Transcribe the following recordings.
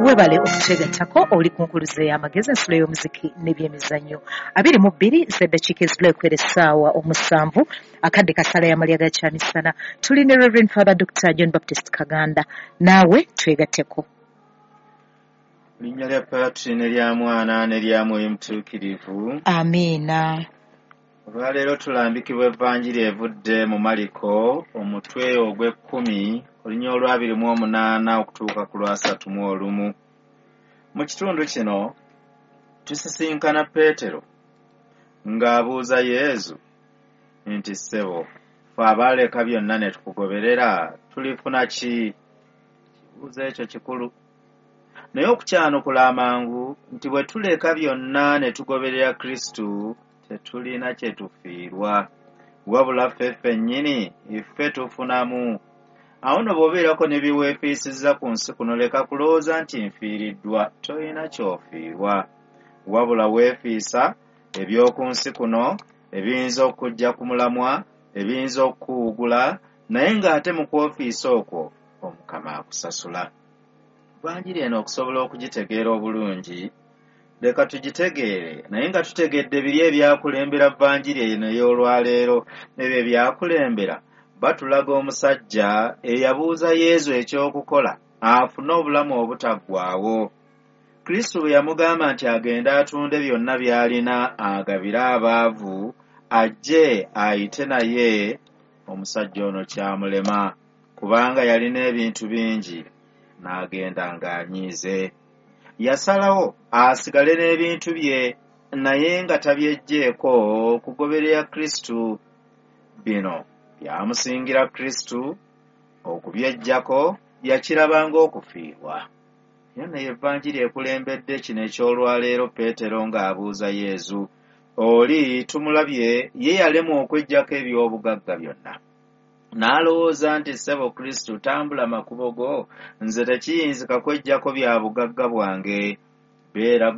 Webale okutwegattako. Oli ku Nkuluze y'Amagezi, ensulo y'omuziki n'ebyemizannyo. 22 z'eddakiika ezibula ekwera essaawa 7, akadde kasala y'amalya ga kyamisana. Tuli ne Reverend Father Dr John Baptist Kaganda, naawe twegatteko. Linnya lya Patri ne lya Mwana ne lya Mwoyo Mutuukirivu. Amiina. Olwaleero tulambikibwa Evanjiri evudde mu Maliko, omutwe ogw'ekkumi, olunya olw'28 okutuuka ku lw'31. Mu kitundu kino tusisinkana Peetero ng'abuuza Yezu nti, "Ssebo, ffe abaaleka byonna ne tukugoberera tulifuna ki?" Kibuuzo ekyo kikulu, naye okukyanukula amangu nti bwe tuleka byonna ne tugoberera Kristu tetulina kye tufiirwa, wabula ffe ffennyini ffe tufunamu. Awo nno bw'obeerako ne bye weefiisizza ku nsi kuno, leka kulowooza nti nfiiriddwa. Tolina ky'ofiirwa, wabula weefiisa eby'oku nsi kuno ebiyinza okujja ku mulamwa, ebiyinza okukuwugula, naye ng'ate mu kwofiisa okwo Omukama akusasula. Vanjiri eno okusobola okugitegeera obulungi, leka tugitegeere naye nga tutegedde biri ebyakulembera vanjiri eno ey'olwaleero. Ebyo ebyakulembera batulaga omusajja eyabuuza Yezu ekyokukola afune obulamu obutaggwaawo. Kristo bwe yamugamba nti agende atunde byonna by'alina agabire abaavu, ajje ayite naye, omusajja ono kyamulema kubanga yalina ebintu bingi, n'agenda ng'anyiize. Yasalawo asigale n'ebintu bye naye nga tabyeggyeko kugoberera Kristo. Bino byamusingira Kristo okubyeggyako, yakiraba ng'okufiirwa. Era naye Evanjiri ekulembedde kino eky'olwaleero, Peetero ng'abuuza Yezu. Oli tumulabye ye yalemwa okweggyako eby'obugagga byonna, n'alowooza nti, "Ssebo Kristo, tambula makubo go, nze tekiyinzika kweggyako bya bugagga bwange. Beera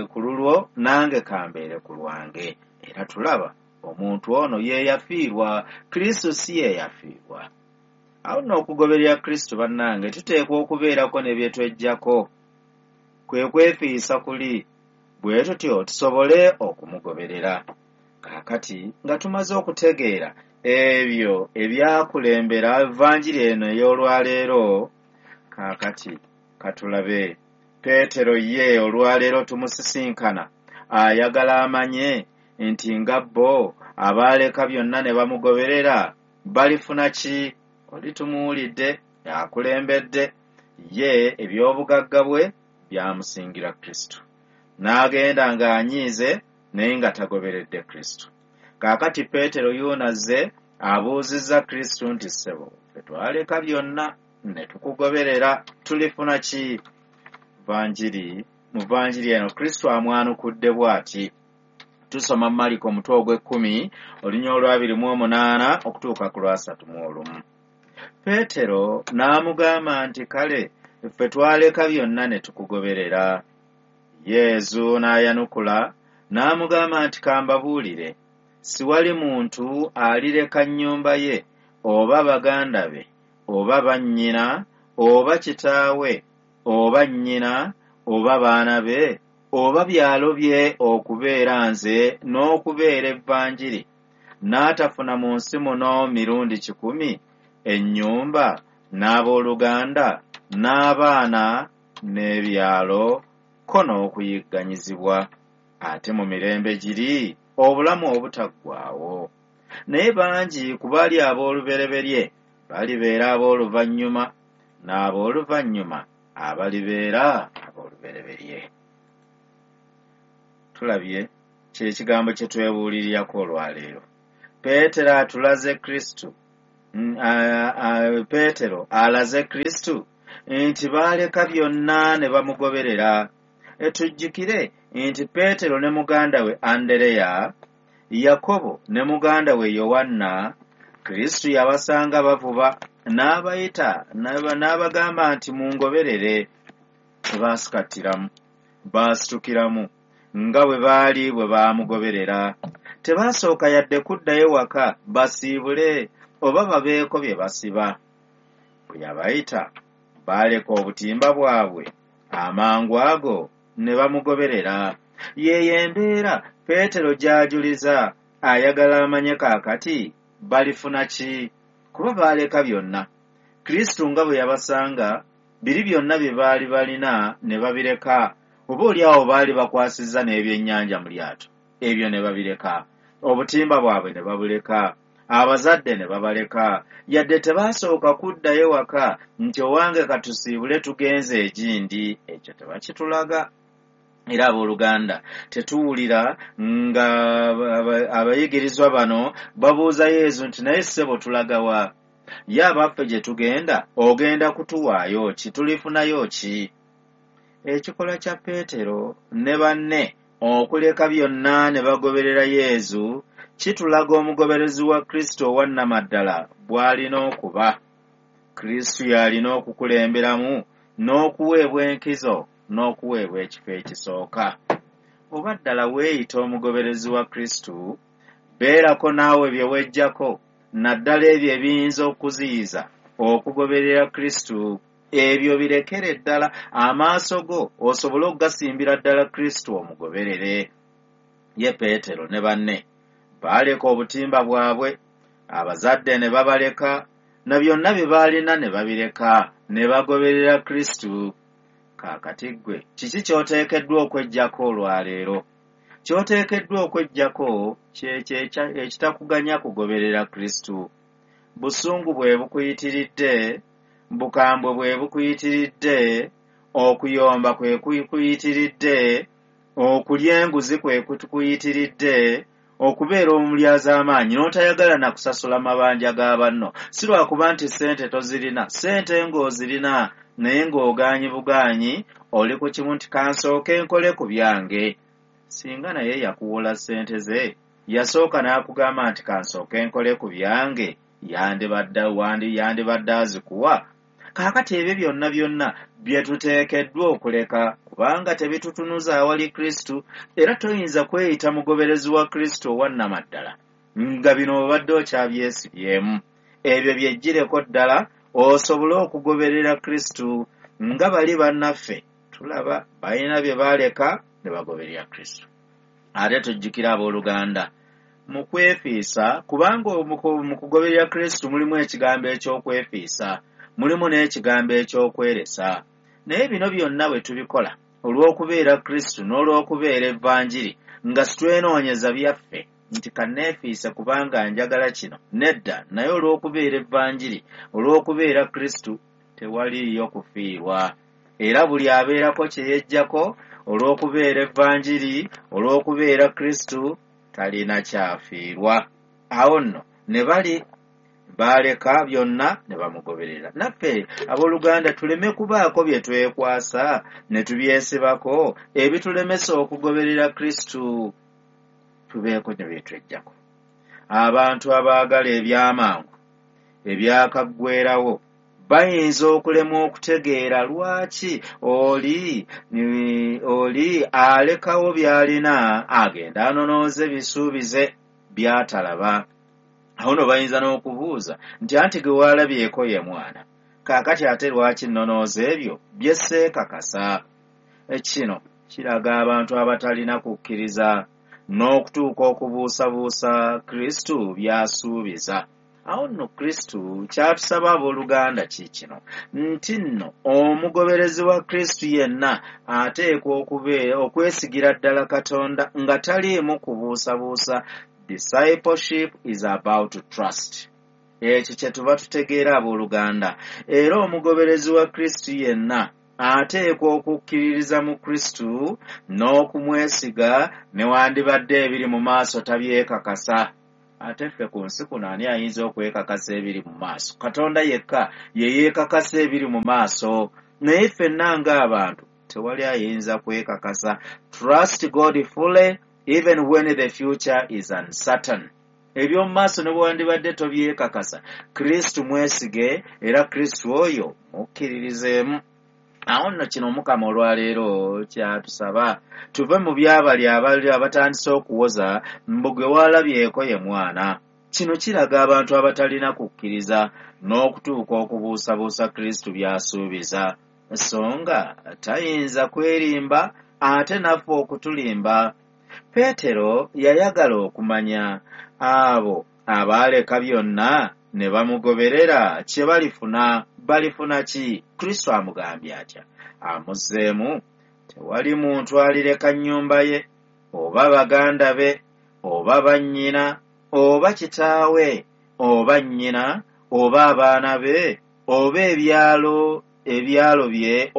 ku lulwo, nange kambeere ku lwange." Era tulaba omuntu ono ye yafiirwa, Kristo si ye yafiirwa. Awo nno okugoberera Kristo, bannange, tuteekwa okubeerako ne bye tweggyako, kwe kwefiisa kuli, bwe tutyo tusobole okumugoberera. Kaakati nga tumaze okutegeera ebyo ebyakulembera Evanjiri eno ey'olwaleero, kaakati katulabe Peetero ye olwaleero tumusisinkana ayagala amanye nti nga bo abaaleka byonna ne bamugoberera balifuna ki. Oli tumuwulidde akulembedde, ye eby'obugagga bwe byamusingira Kristo, n'agenda ng'anyiize naye nga tagoberedde Kristo. Kaakati Peetero yuunazze abuuzizza Kristo nti, "Ssebo, ffe twaleka byonna ne tukugoberera, tulifuna ki?" Vanjiri, mu vanjiri eno Kristo amwanukudde bw'ati. Tusoma Maliko omutwe ogw'ekkumi, olunya olw'28 okutuuka ku lw'31. Peetero n'amugamba nti, "Kale ffe twaleka byonna ne tukugoberera." Yezu n'ayanukula n'amugamba nti, "Kambabuulire, siwali muntu alireka nnyumba ye oba baganda be oba bannyina oba kitaawe oba nnyina oba baana be oba byalo bye okubeera nze n'okubeera Evanjiri, n'atafuna mu nsi muno mirundi 100 ennyumba n'abooluganda n'abaana n'ebyalo ko n'okuyigganyizibwa, ate mu mirembe giri obulamu obutaggwaawo. Naye bangi ku bali ab'olubereberye balibeera ab'oluvannyuma, n'ab'oluvannyuma abalibeera ab'olubereberye." Tulabye kyekigambo kye twebuulirirako olwaleero. Peetero atulaze Kristo, Peetero alaze Kristo nti baaleka byonna ne bamugoberera. Tujjukire nti Peetero ne muganda we Andereya, Yakobo ne muganda we Yowanna, Kristo yabasanga bavuba n'abayita n'abagamba nti, "Mungoberere." Tebaasikattiramu, baasitukiramu nga bwe baali bwe baamugoberera. Tebaasooka yadde kuddayo waka basiibule oba babeeko bye basiba. Bwe yabayita baaleka obutimba bwabwe Amangu ago ne bamugoberera. Yeeyo embeera Peetero gy'ajuliza, ayagala amanye kaakati balifuna ki, kuba baaleka byonna. Kristo nga bwe yabasanga, biri byonna bye baali balina ne babireka, oba oli awo baali bakwasizza n'ebyennyanja mu lyato, ebyo ne babireka, obutimba bwabwe ne babuleka, abazadde ne babaleka, yadde tebaasooka kuddayo waka nti owange katusiibule tugenze egindi, ekyo tebakitulaga. Era abooluganda tetuwulira nga abayigirizwa bano babuuza Yesu nti naye ssebo tulaga wa? Ye abaffe gye tugenda ogenda kutuwaayo ki? Tulifunayo ki? Ekikolwa kya Peetero ne banne okuleka byonna ne bagoberera Yesu kitulaga omugoberezi wa Kristo owa nnamaddala bw'alina okuba. Kristo y'alina okukulemberamu n'okuweebwa enkizo n'okuweebwa ekifo ekisooka. Oba ddala weeyita omugoberezi wa Kristo, beerako naawe bye weggyako, naddala ebyo ebiyinza okuziyiza okugoberera Kristo. Ebyo birekere ddala amaaso go osobole okugasimbira ddala Kristo omugoberere. Ye Peetero ne banne baaleka obutimba bwabwe, abazadde ne babaleka, na byonna bye baalina ne babireka, ne bagoberera Kristo. Kaakati ggwe kiki ky'oteekeddwa okweggyako olwaleero? Ky'oteekeddwa okweggyako kyekyo ekitakuganya kugoberera Kristo. Busungu bwe bukuyitiridde, bukambwe bwe bukuyitiridde, okuyomba kwe kukuyitiridde, okulya enguzi kwe kukuyitiridde, okubeera omulyazaamaanyi n'otayagala na kusasula mabanja ga banno. Si lwakuba nti ssente tozirina, ssente ng'ozirina naye ng'ogaanyi bugaanyi, oli ku kimu nti kansooke nkole ku byange. Singa naye yakuwola ssente ze, yasooka n'akugamba nti kansooke nkole ku byange, yandibadde azikuwa. Kaakati ebyo byonna byonna bye tuteekeddwa okuleka, kubanga tebitutunuza awali Kristo, era toyinza kweyita mugoberezi wa Kristo owa nnamaddala nga bino obadde okyabyesibyemu. Ebyo byeggyireko ddala osobole okugoberera Kristo nga bali bannaffe tulaba balina bye baaleka ne bagoberera Kristo. Ate tujjukira abooluganda mu kwefiisa, kubanga mu kugoberera Kristo mulimu ekigambo eky'okwefiisa, mulimu n'ekigambo eky'okweresa. Naye bino byonna bwe tubikola olw'okubeera Kristo n'olw'okubeera Evanjiri, nga sitwenoonyeza byaffe nti kanneefiise kubanga njagala kino, nedda, naye olw'okubeera Evanjiri, olw'okubeera Kristo, tewaliiyo kufiirwa. Era buli abeerako kye yeggyako olw'okubeera Evanjiri, olw'okubeera Kristo, talina kyafiirwa. Awo nno ne bali baaleka byonna ne bamugoberera. Naffe abooluganda tuleme kubaako bye twekwasa ne tubyesibako ebitulemesa okugoberera Kristo, tubeeko ne bye tweggyako. Abantu abaagala ebyamangu ebyakaggwerawo bayinza okulemwa okutegeera lwaki oli alekawo by'alina agenda anonooze bisuubize by'atalaba. Awo nno bayinza n'okubuuza nti anti gwe waalabyeko ye mwana, kaakati ate lwaki nnonooza ebyo bye sseekakasa? Kino kiraga abantu abatalina kukkiriza n'okutuuka okubuusabuusa Kristo by'asuubiza. Awo nno Kristo kyatusaba abooluganda ki kino, nti nno omugoberezi wa Kristo yenna ateekwa okwesigira ddala Katonda nga taliimu kubuusabuusa. Discipleship is about trust. Ekyo kye tuba tutegeera abooluganda. Era omugoberezi wa Kristo yenna ateekwa okukkiririza mu Kristo n'okumwesiga, newandibadde ebiri mu maaso tabyekakasa. Ate ffe ku nsi kuno ani ayinza okwekakasa ebiri mu maaso? Katonda yekka ye yeekakasa ebiri mu maaso, naye ffenna ng'abantu tewali ayinza kwekakasa. Trust God fully even when the future is uncertain. Eby'omu maaso ne bwewandibadde tobyekakasa, Kristo mwesige era Kristo oyo mukkiririzeemu. Awo nno kino Omukama olwaleero kyatusaba, tuve mu byabali abatandise okuwoza mbu gwe waalabyeko ye mwana. Kino kiraga abantu abatalina kukkiriza n'okutuuka okubuusabuusa Kristo by'asuubiza. So nga tayinza kwerimba ate naffe okutulimba. Peetero yayagala okumanya abo abaaleka byonna ne bamugoberera kye balifuna. Balifuna ki? Kristo amugambye atya? Amuzzeemu, tewali muntu alireka nnyumba ye, oba baganda be, oba bannyina, oba kitaawe, oba nnyina, oba abaana be, oba ebyalo bye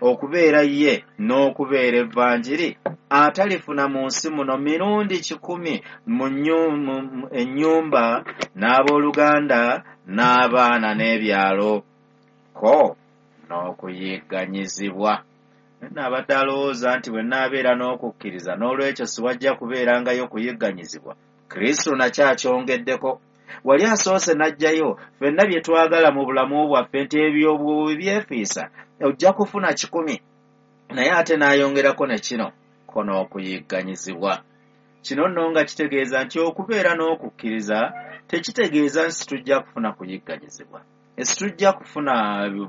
okubeera ye n'okubeera evvanjiri, atalifuna mu nsi muno mirundi 100 mu ennyumba n'abooluganda n'abaana n'ebyalo, ko n'okuyigganyizibwa. Nabadde alowooza nti bwe nnaabeera n'okukkiriza n'olwekyo siwajja kubeerangayo kuyigganyizibwa. Kristo nakyo akyongeddeko. Wali asoose n'ajjayo ffenna bye twagala mu bulamu bwaffe nti ebyo bw'obyefiisa ojja kufuna 100, naye ate n'ayongerako ne kino, ko n'okuyigganyizibwa. Kino nno nga kitegeeza nti okubeera n'okukkiriza tekitegeeza nti tujja kufuna kuyigganyizibwa, situjja kufuna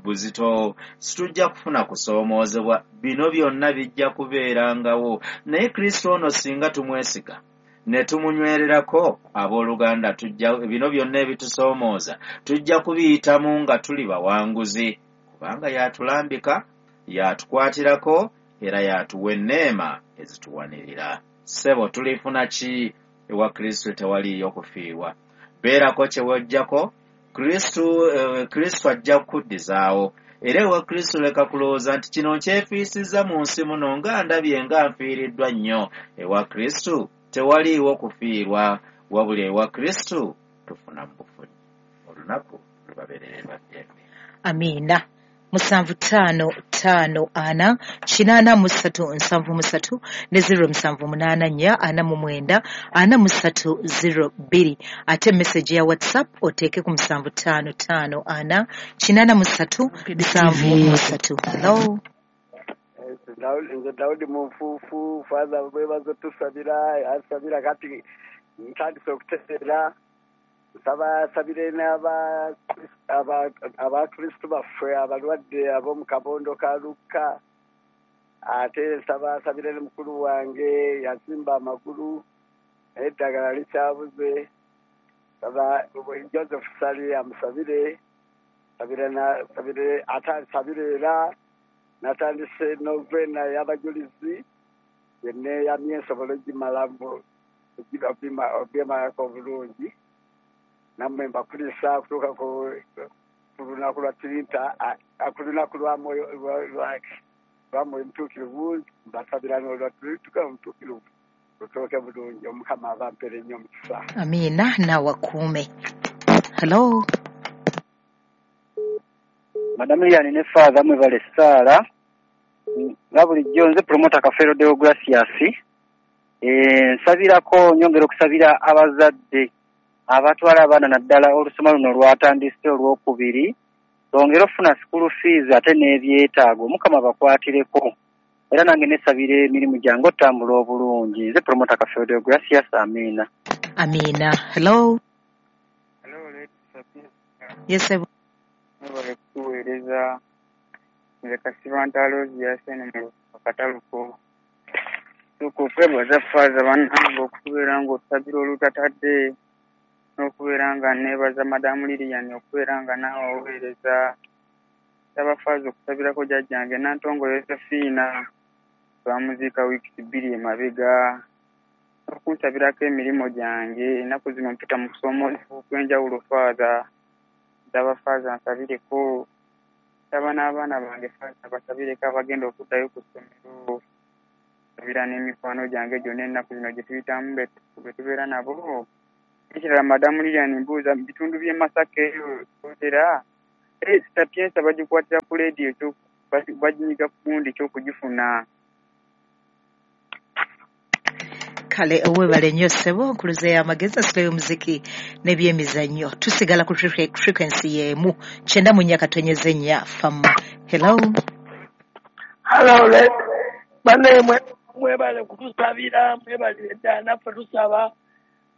buzito, situjja kufuna kusoomoozebwa. Bino byonna bijja kubeerangawo, naye Kristo ono singa tumwesiga ne tumunywererako, abooluganda, tujja bino byonna ebitusoomooza tujja kubiyitamu nga tuli bawanguzi, kubanga y'atulambika, y'atukwatirako, era y'atuwa enneema ezituwanirira. Ssebo, tulifuna ki ewa Kristo? Tewaliiyo kufiirwa. Beerako kye wajjako, Kristo ajja kukuddizaawo. Era ewa Kristo leka kulowooza nti kino nkyefiisizza mu nsi muno nga ndabye nga nfiiriddwa nnyo. Ewa Kristo tewaliiwo kufiirwa, wabula ewa Kristo tufuna mu bufunyi. Olunaku lubabeerere lwa ddembe. Amiina. 7 5 5 4 8 3 7 3 ne 0 7 8 4 49 43 02. Ate message ya WhatsApp oteeke ku 7 5 5 4 8 3 7 3. Hello. Nze Daudi Munfuufu. Father, bwebaza tusabira, asabira kati ntandise okutereera. Nsaba asabire abakristu baffe abalwadde ab'omu kabondo ka Lukka. Ate nsaba asabire ne mukulu wange yazimba amagulu naye eddagala likyabuze. Nsaba Joseph Sali amusabire, ate asabire era natandise novena y'abajulizi yeneyamye nsobola ogimalamu obyemalako obulungi. Nammwe mbakulisa okutuuka ku lunaku lwa Trinita, ku lunaku lwa Mwoyo Mutuukirivu. Mbasabira n'olwa Trinita Omutuukirivu lutuuke bulungi. Omukama abampere nnyo omukisa. Amiina, naawakuume. Hello. Madamu Lilian ne Father, mwebale essaala. Nga bulijjo nze Promota Kafeero Deogratias. Nsabirako, nyongera okusabira abazadde abatwala abaana naddala olusoma luno lwatandise olwokubiri, bongere okufuna school fees ate n'ebyetaago. Omukama bakwatireko. Era nange nesabira emirimu gyange otambula obulungi. Nze Promota Kafeero Deogratias. Amiina. Amiina. Hello. Hello, Lady Sabina. Yes, sir. Mwebale kutuweereza. Nze Kasibante Aloysius mu Akataluko. Sooka okwebaza Faaza bannange okubeera ng'otusabira olutatadde, n'okubeera nga neebaza Madamu Lilian okubeera nga naawe oweereza. Nsaba Faaza okusabirako jjajjange Nantongo Yosefiina, twamuziika wiiki 2 emabega, n'okunsabirako emirimu gyange. Ennaku zino mpita mu kusoomoozebwa okw'enjawulo Faaza. Nsaba Faaza nsabireko. Nsaba n'abaana bange Faaza basabireko abagenda okuddayo ku ssomero. Nsabira n'emikwano gyange gyonna ennaku zino gye tuyitamu be tubeera nabo. Ekirala Madamu Lilian mbuuza mu bitundu by'e Masaka eyo otera Sapienza bagikwatira ku leediyo, baginyiga ku gundi ky'okugifuna. Kale owebale nnyo ssebo, nkuluze y'amagezi, ensolo y'omuziki n'ebyemizannyo. Tusigala ku frequency y'emu 94.4 FM. Hello. Hello, banne mwebale kutusabira, mwebale ddala, naffe tusaba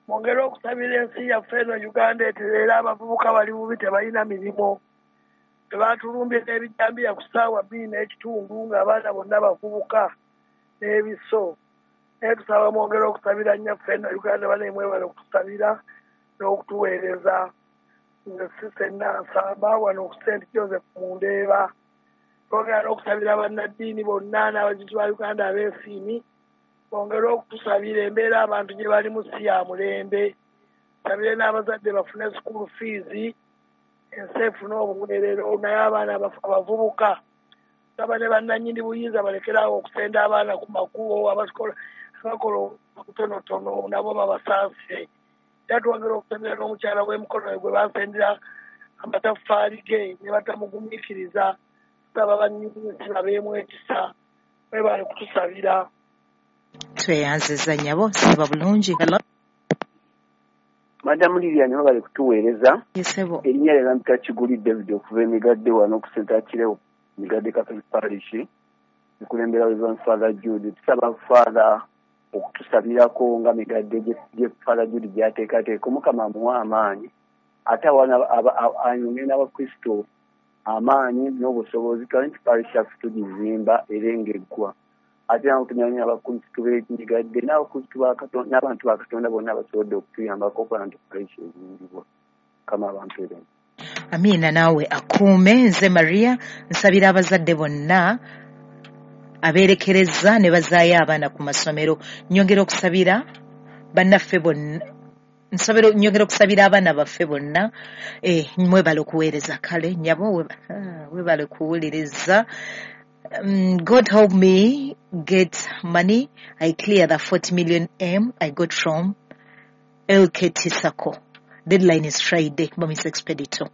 mwongere okusabira ensi yaffe eno Uganda etereera. Abavubuka bali bubi, tebalina mirimu. Tebatulumbye n'ebijambiya ku ssaawa 2:15 ng'abaana bonna bavubuka n'ebiso. Naye tusaba mwongere okusabira nnyaffe eno Uganda, bane mwebale okutusabira n'okutuweereza. Nze Sise Nansamba wano ku St. Joseph mu Ndeeba. Twongera n'okusabira bannaddiini bonna n'abajulizi ba Uganda abeesiimi, bongere okutusabira embeera abantu gye balimu si ya mulembe. Tusabire n'abazadde bafune school fees, ensi efune obuweerero, naye abaana abavubuka saba ne bannannyini buyinza balekeraawo okusenda abaana ku makubo, abakola obutonotono nabo babasaasire. Era twongera okusabira n'omukyala w'emikono gwe basendera amataffaali ge ne batamugumiikiriza. Tusaba bannyini babeemu ekisa, mwebale kutusabira. Tweyanziza nnyabo, siba bulungi. Hello. Madamu Lilian, webale kutuweereza. Yesebo. Erinnya lye bampita Kiguli David okuva Emigadde wano ku St. Achileo, Migadde Catholic Parish, nkulembera Reverend Father Jude. Tusaba Father okutusabirako nga Migadde gye Father Jude gy'ateekateeka, Omukama amuwa amaanyi, ate ayongere n'Abakristo amaanyi n'obusobozi. Twali nti parish yaffe tugizimba era ng'eggwa, ate nabo tunyanya abakristu b'Emigadde n'abakristu ba Katonda n'abantu ba Katonda bonna basobodde okutuyambako okulaba nti parish ezimbibwa. Mukama abantu ebyo. Amiina, naawe akuume. Nze Maria, nsabira abazadde bonna abeerekereza ne bazaayo abaana ku masomero. Nyongera okusabira bannaffe bonna, nyongera okusabira abaana baffe bonna. Mwebale okuweereza. Kale nnyabo, webale kuwuliriza. God help me get money. I clear the 40 million M I got from LKT Sacco. Deadline is Friday. Bamis Expedito.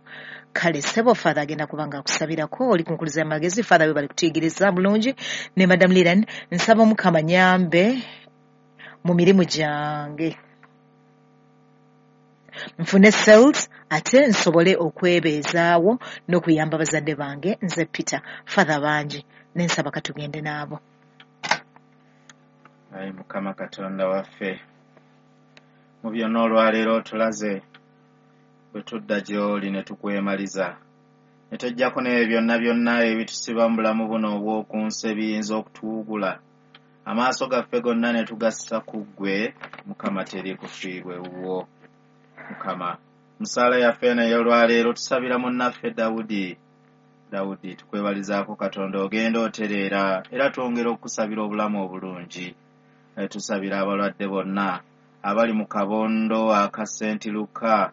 Kale sebo, Father agenda kubanga akusabirako. Oli kunkuliza amagezi. Father webale kutuyigiriza bulungi. Ne Madam Lilian, nsaba Omukama nyambe mu mirimu gyange, nfune sales ate nsobole okwebeezaawo n'okuyamba bazadde bange. Nze Peter. Father bangi nensaba katugende n'abo. Ayi Mukama Katonda waffe, mu byonna olwaleero otulaze bwe tudda gy'oli ne tukwemaliza, ne tweggyako n'ebyo byonna byonna ebitusiba mu bulamu buno obw'oku nsi ebiyinza okutuwugula. Amaaso gaffe gonna ne tugassa ku ggwe, Mukama, teri kufiirwa ewuwo. Mukama, musaala yaffe naye olwaleero tusabira munnaffe Dawudi. Dawudi, tukwebalizaako Katonda ogenda otereera, era twongera okukusabira obulamu obulungi. Tusabira abalwadde bonna abali mu kabondo aka St. Luka,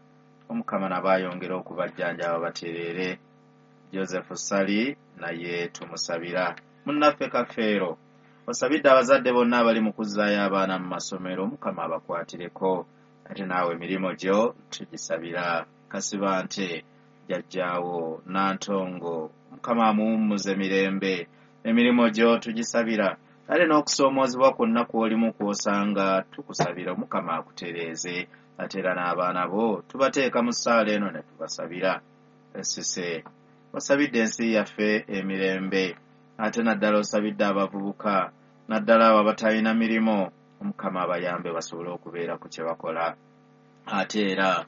Omukama nabo ayongere okubajjanjaba batereere. Joseph Sali naye tumusabira. Munnaffe Kafeero, osabidde abazadde bonna abali mu kuzzaayo abaana mu masomero, Omukama abakwatireko. Ate naawe emirimu gyo tugisabira. Kasibante, jjajjaawo Nantongo, Mukama amuwummuze mirembe. Emirimu gyo tugisabira. Ate n'okusoomoozebwa kwonna kw'olimu kw'osanga tukusabira Omukama akutereeze. Ate era n'abaana bo tubateeka mu ssaala eno ne tubasabira. Esise, osabidde ensi yaffe emirembe, ate naddala osabidde abavubuka, naddala abo abatalina mirimu, Omukama abayambe basobole okubeera ku kye bakola. Ate era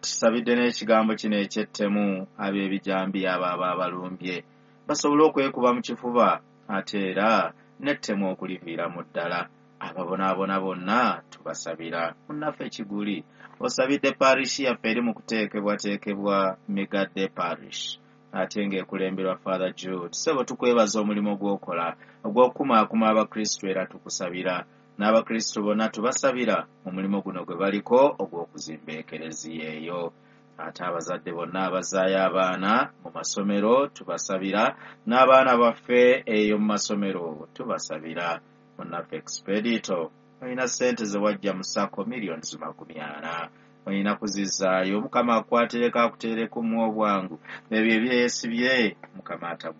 tusabidde n'ekigambo kino eky'ettemu, ab'ebijambiya abo abaabalumbye basobole okwekuba mu kifuba, ate era n'ettemu okuliviiramu ddala. Ababonaabona bonna tubasabira. Munnaffe Kiguli, osabidde parish yaffe eri mu kuteekebwateekebwa Migadde Parish, ate ng'ekulemberwa Father Jude. Ssebo, tukwebaza omulimu gw'okola ogw'okukumaakuma Abakristu, era tukusabira n'Abakristu bonna tubasabira mu mulimu guno gwe baliko ogw'okuzimba ekereziya eyo. Ate abazadde bonna abazaayo abaana mu masomero tubasabira, n'abaana baffe eyo mu masomero tubasabira. Munnaffe Expedito, olina ssente ze wajja mu SACCO 40 million, olina kuzizzaayo. Mukama akukwatireko akuteereko mu obwangu ebyo ebyesibye, Mukama ataggwa.